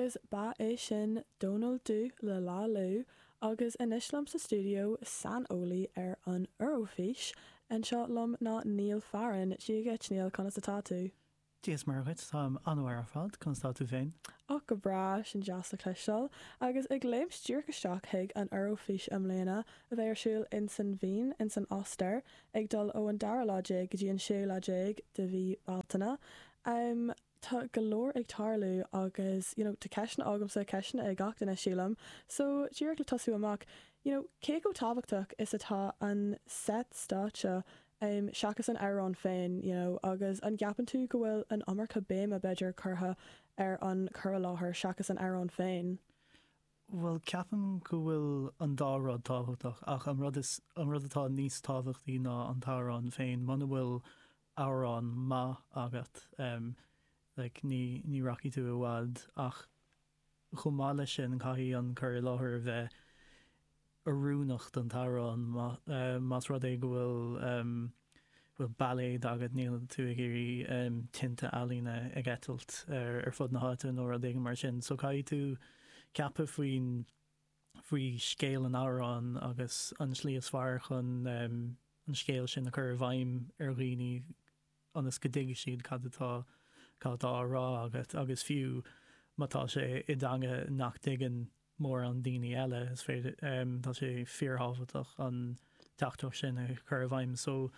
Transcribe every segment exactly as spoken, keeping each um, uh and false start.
Agus ba é sin Dónal Dubh le Lá Liú agus anois liom sa stiúideo saineolaí ar an Eoraifís anseo liom ná Niall Farren. Dia dhuit Niall conas atá tú? Dia is Muire dhuit táim an-mhaith ar fad conas tá tú féin. Ó go breá sin deas le cloisteáil, agus ag léimt díreach isteach chuig an Eoraifís i mbliana a bheidh ar siúl in san Vín in san Ostair ag dul ó an dara lá déag go dtí an séú lá déag de mhí Bealtaine. Um, tá go leor ag tarlú agus you know, tá ceisteanna agamsa ceisteanna ag gach duine sílim, so díreach le tosú amach, you know, cé chomh tábhachtach is atá an set stáitse um, seachas an amhrán féin, you know, agus an gceapann tú go bhfuil an iomarca béime b'fhéidir curtha ar an chur i láthair seachas an amhrán féin. Well ceapaim go bhfuil an dá rud tábhachtach ach an rud is an rud atá níos tábhachtaí ná an t-amhrán féin muna bhfuil amhrán maith agat um, like, ní, ní rachaidh tú i bhfad ach chomh maith leis sin caithfidh an cur i láthair a bheith oiriúnach don t-amhrán uh, más rud é go bhfuil um, bhfuil bailéad agat níl tú ag iarraidh um, tinte ealaíne ag eitilt ar, ar fud na háite nó rud éigin mar sin, so caithfidh tú ceapadh faoin faoi scéal an amhráin agus an slí is fearr chun um, an scéal sin a chur i bhfeidhm ar dhaoine ionas go dtuigfidh siad cad atá cad atá á rá agat agus fiú má tá sé i dteanga nach dtuigeann mórán daoine eile is féidir um, tá sé fíorthábhachtach an teachtaireacht sin a chur i bhfeidhm. So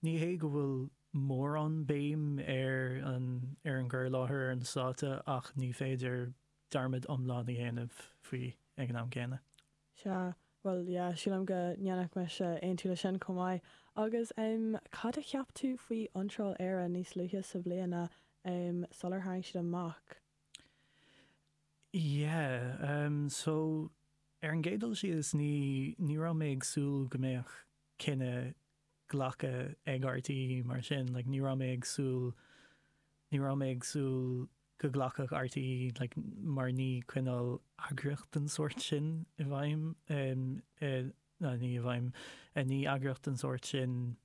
ní hé go bhfuil mórán béim ar an ar an gcur i láthair ar an stáitse ach ní féidir dearmad iomlán a dhéanamh faoi ag an am céanna. Sea, well yeah, sílim go ndéanfadh mise aontú le sin chomh maith. Agus um, cad a cheap tú faoi iontráil Éire níos luaithe sa bhliana um, sular tharraing siad amach? Yeah, um, so ar an gcéad dul síos ní ní raibh mé ag súil go mbeadh cinneadh glactha ag RTÉ mar sin, like, ní raibh mé ag súil ní raibh mé ag súil go nglacfadh RTÉ like, mar ní cineál eagraíocht den sórt sin i bhfeidhm um, uh, ná ní i bhfeidhm uh, ní eagraíocht den sórt sin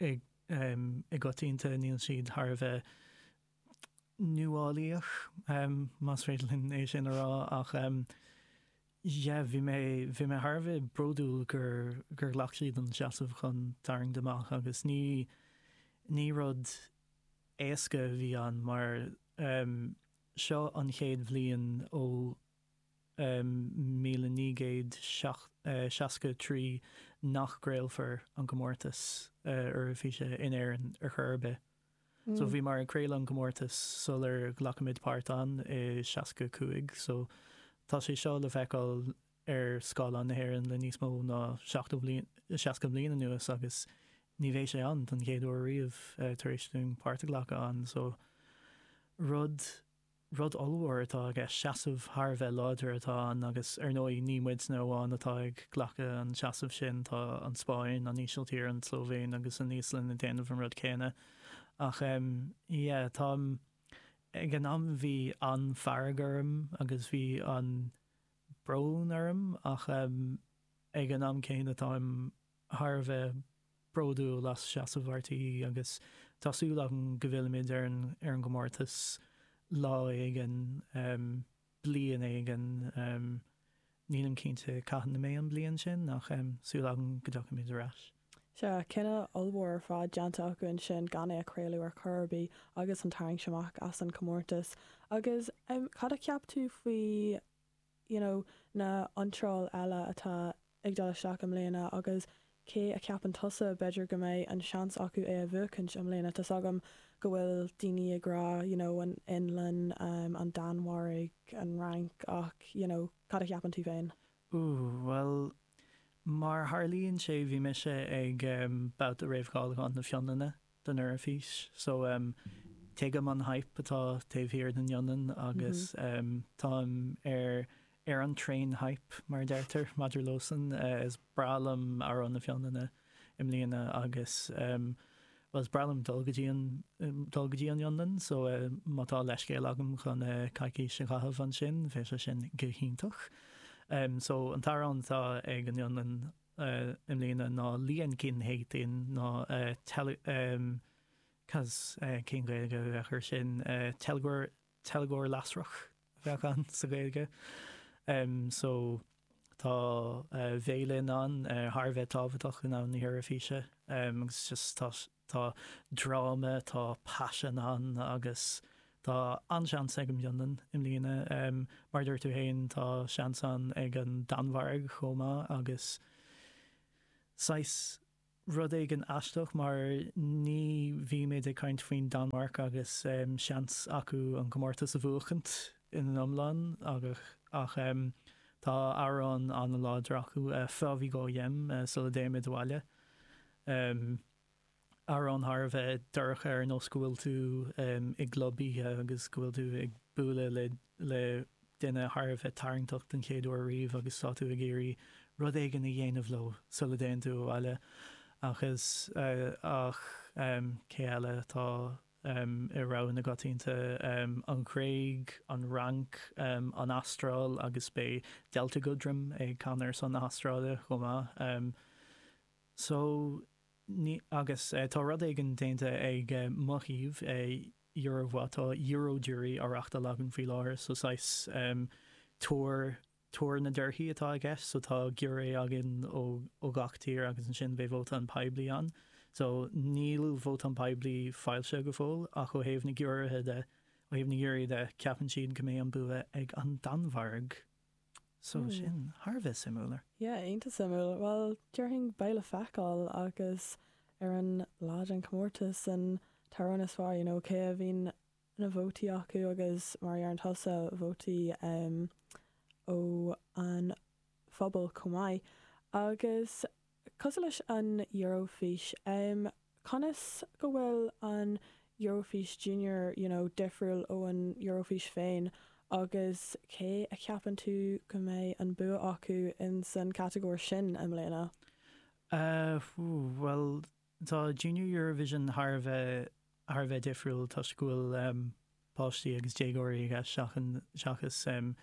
i um, i gcoitinne níl siad thar a bheith nuálaíoch um, más féidir linn é sin a rá ach um, yeah, bhí mé bhí mé thar a bheith bródúil gur gur ghlac siad an seasamh chun tarraingt amach agus ní ní rud éasca a bhí ann mar um, seo an chéad bhliain ó um, míle naoi gcéad seasca trí nach gcraolfar an comórtas uh, Eoraifíse in Éirinn ar chor ar bith. Mm. So bhíomar ag craoladh an comórtas sular ghlac muid páirt ann i seasca cúig, so tá sé seo le feiceáil ar scáileán na hÉireann le níos mó ná seasca bliain anuas agus ní bheidh sé ann don chéad uair riamh uh, tar éis dúinn páirt a ghlacadh ann, so rud rud ollmhór atá aige seasamh thar a bheith láidir atá ann agus ar ndóigh ní muidne amháin atá ag glacadh an seasamh sin tá an Spáinn, an Ísiltír, an tSlóivéin agus an Íoslainn ag déanamh an rud céanna. Ach um, yeah, tá ag an am bhí an-fhearg orm agus bhí an-bhrón orm ach um, ag an am céanna táim thar a bheith bródúil as seasamh RTÉ agus tá súil agam go bhfillfimid ar an ar an gcomórtas lá éigin um, bliain éigin um, nílim cinnte cathain a mbeidh an bliain sin ach um, súil agam go dtiocfaimid ar ais. Sea cinneadh ollmhór ar fad déanta acu ansin gan é a chraoladh ar chor ar bith agus an tarraingt amach as an comórtas. Agus um, cad a cheap tú faoi you know, na hiontráil eile atá ag dul isteach i mbliana agus cé a cheapann tusa b'fhéidir go mbeidh an seans acu é a bhuachaint i mbliana Tá agam go bhfuil daoine ag rá you know, an Fhionlainn, um, an Danmhairg, an Fhrainc ach you know, cad a cheapann tú féin? Ooh, well mar tharlaíonn sé bhí mise ag um, babhta réamhcháiliúcháin na Fionlainne don Eoraifís, so um, tuigim an hype atá taobh thiar den Fhionlainn agus mm -hmm. um, táim ar ar an train hype mar deirtear maidir leosan uh, is breá liom amhrán na Fionlainne i mbliana agus um, well, is breá liom dul go dtí an dul go dtí an Fhionlainn, so uh, má tá leithscéal agam chun uh, coicís a chaitheamh ansin, bheadh sé sin go hiontach. Um, so an t-amhrán atá ag an Fhionlainn uh, i mbliana ná Liekinheitin ná uh, tele, um, Cos uh, cén Ghaeilge a bheadh air sin uh, teilgeoir teilgeoir lasrach a bheadh ann sa Ghaeilge. Um, so tá uh, Bhéilin ann uh, thar a bheith tábhachtach in am na hEoraifíse um, agus just tá, tá dráma tá paisean ann agus tá an-seans ag an bhFionlainn i mbliana um, mar dúirt tú féin tá seans an ag an Danmhairg chomh maith agus saghas rud éigin aisteach mar ní bhímid ag caint faoin Danmhairg agus um, seans acu an comórtas a bhuachaint ina iomlán agus ach um, tá amhrán an-láidir acu uh, Før vi går hjem uh, sula dtéimid abhaile. Um, amhrán thar a bheith dorcha ar nós go bhfuil tú um, i gclub oíche agus go bhfuil tú ag bualadh le, le duine thar a bheith tarraingteach den chéad uair riamh agus tá tú ag iarraidh rud éigin a dhéanamh leo sula dtéann tú abhaile agus uh, ach um, cé eile tá um, i rogha na gcoitianta um, an Ghréig, an Fhrainc, um, an Astráil agus beidh Delta Goodrem ag canadh ar son na hAstráile chomh maith. Um, so ní, agus uh, tá rud éigin déanta ag uh, mo thaobh uh, Eurovoix tá Eurojury á reáchtáil againn faoi láthair so saghas um, tuar tuar na dtorthaí atá i gceist, so tá giúiré againn ó, ó gach tír agus ansin beidh vóta an poiblí ann. So níl vóta an poiblí foilsithe go fóill ach ó thaobh na giúiréithe de ó thaobh na giúirí de ceapann siad go mbeidh an bua ag an Danmhairg. So Hmm. sin thar a bheith suimiúil. Yeah, iontach suimiúil. Well, déarfainn beidh le feiceáil agus ar an lá den comórtas an t-amhrán is fearr, you know, cé a bhíonn na vótaí acu agus mar ar tusa vótaí um, ó an phobal chomh maith. Agus cosúil leis an Eurofís, um, conas go bhfuil an Eurofís Junior you know, difriúil ó an Eurofís féin agus cé a cheapann tú go mbeidh an bua acu in san catagóir sin i mbliana? Uh, well tá Junior Eurovision thar a bheith thar a bheith difriúil toisc go bhfuil um, páistí agus déagóirí aige seachan seachas um,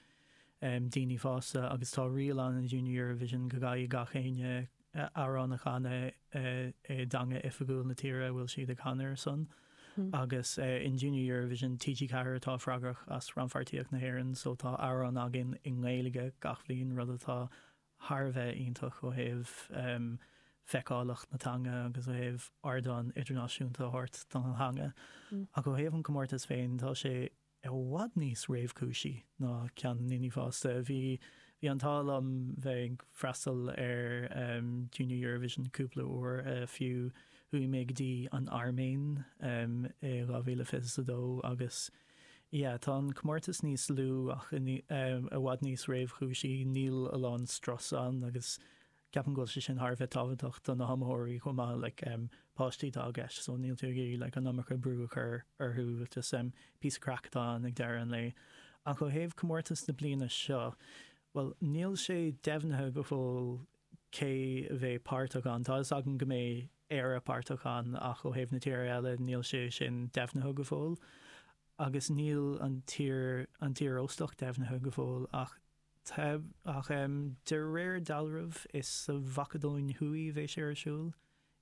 um, daoine fásta agus tá riail ann in Junior Eurovision go gcaithfidh gach éinne uh, amhrán a chanadh uh, i dteanga oifigiúil na tíre a bhfuil siad ag canadh ar son. Hmm. agus uh, in Junior Eurovision TG Ceathair atá freagrach as rannpháirtíocht na hÉireann, so tá amhrán againn i nGaeilge gach bliain rud atá thar a bheith iontach ó thaobh um, feiceálacht na teanga agus ó thaobh ardán idirnáisiúnta a thabhairt don teanga. Mm. Ach ó thaobh an comórtas féin tá sé i bhfad níos réamhchúisí ná ceann na ndaoine fásta. Bhí bhí an t-ádh liom bheith ag freastal ar um, Junior Eurovision cúpla uair uh, fiú chuaigh mé go dtí an Airméin um, i dhá mhíle fiche a dó agus yeah, tá an comórtas níos lú ach i ní- um, i bhfad níos réamhchúisí níl a lán strus ann agus ceapaim go bhfuil sé sin thar a bheith tábhachtach do na hiomaitheoirí chomh maith like, um, páistí atá i gceist, so níl tú ag iarraidh like, an iomarca brú a chur orthu just um, píosa craic atá ann ag deireadh an lae. Ach ó thaobh comórtas na bliana seo, well níl sé deimhnithe go fóill cé a bheidh páirteach ann. Tá fhios agam go mbeidh Éire páirteach ann ach ó thaobh na tíre eile níl sé sin deimhnithe go fóill. Agus níl an tír an tír óstach deimhnithe go fóill ach te, ach um, de réir dealraimh is sa Mhacadóin Thuaidh bheidh sé ar siúl.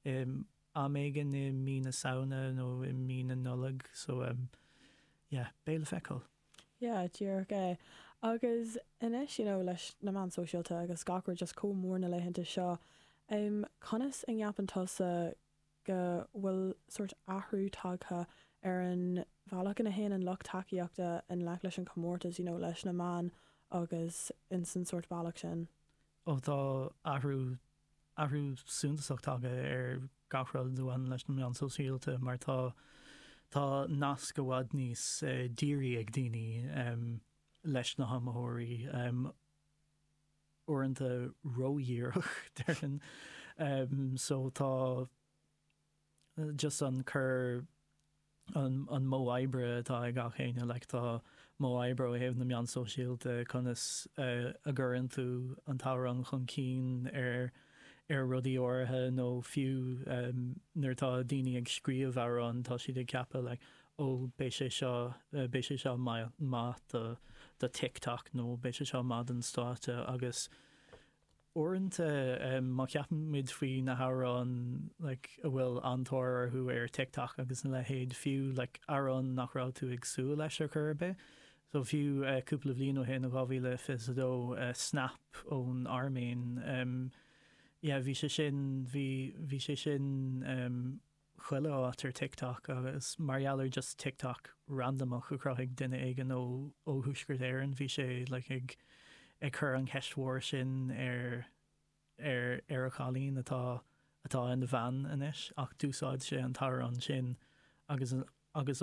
Um, am éigin i mí na Samhna nó i mí na Nollag, so um, yeah, beidh le feiceáil. Yeah, díreach é. Agus anois you know, leis na meáin sóisialta agus gach rud just chomh mór na laethanta seo, um, conas a gceapann tusa go bhfuil sórt athrú tagtha ar an bhealach ina théann an lucht tacaíochta i ngleic leis an comórtas, you know, leis na meáin agus in san sórt bealach sin. Ó tá athrú athrú suntasach tagtha ar gach rud a bhaineann leis na meáin sóisialta mar tá tá nasc i bhfad níos uh, dírí ag daoine um, leis na hiomaitheoirí um, uaireanta ródhíreach déarfainn. Um, so tá uh, just an cur an, an modh oibre atá ag gach éinne like tá modh oibre ó thaobh na meán sóisialta conas uh, a gcuireann tú an t-amhrán chun cinn ar ar rudaí áirithe nó fiú um, nuair tá daoine ag scríobh amhrán tá siad ag ceapadh like, ó beidh sé seo uh, beidh sé seo maith maith do, do TikTok nó beidh sé seo maith don stáitse agus uaireanta um, má cheapaimid faoi na hamhráin like, a bhfuil an-tóir orthu ar TikTok agus na leithéid fiú like, amhrán nach raibh tú ag súil leis ar chor ar bith. So fiú uh, cúpla bliain ó shin dhá mhíle fiche dó uh, Snap ón Airméin um, yeah, bhí sé sin bhí bhí sé sin um, chuile áit ar TikTok agus mar gheall ar just TikTok randomach a chruthaigh duine éigin ó ó Thuaisceart Éireann bhí sé like, ag ag cur an cheist mhór sin ar ar ar a chailín atá atá ina bhean anois ach d'úsáid sé an t-amhrán sin agus agus